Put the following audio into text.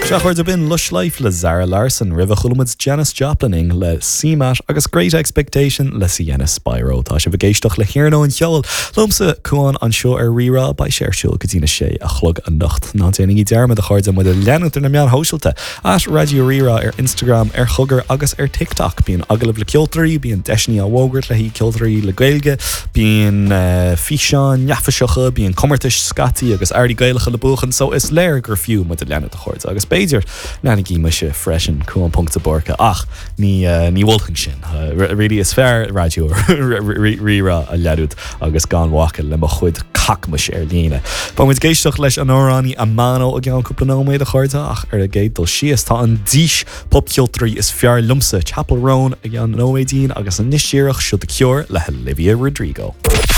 Sea, a chairde, b'in Lush Life le Zara Larsson. Roimhe chuala muid Janis Joplining le CMAT agus Great Expectation le Sienna Spiro. Tá sibh ag éisteacht le hIarnóin Cheoil liomsa, Cuán, anseo ar Rí-Rá. Beidh sé ar siúl go dtí na sé a chlog anocht. Ná déanaigí dearmad, a chairde, muid a leanúint ar na meáin shóisialta, at Raidió Rí-Rá ar Instagram, ar Chogar agus ar TikTok. Bíonn agallaimh le ceoltóirí, bíonn deiseanna á bhfógairt le haghaidh ceoltóirí le Gaeilge, bíonn físeáin neafaiseacha, bíonn comórtais scaití agus earraí Gaelacha le buachan, so is léir gur fiú muid a leanúint, a chairde. Agus b'fhéidir, leanaigí mise freisin, Cuán ponc de Búrca, ach ní ní mholfainn sin. Really, is fearr Raidió Rí-Rá a leanúint agus gan bhacadh le mo chuid cacmais ar líne. Beidh muid ag éisteacht leis an amhránaí Amano i gceann cúpla nóiméad, a chairde, ach ar an gcéad dul síos, tá an dís popcheoltóirí is fearr liomsa, Chappell Roan, i gceann nóiméidín agus anois díreach, seo The Cure le hOlivia Rodrigo.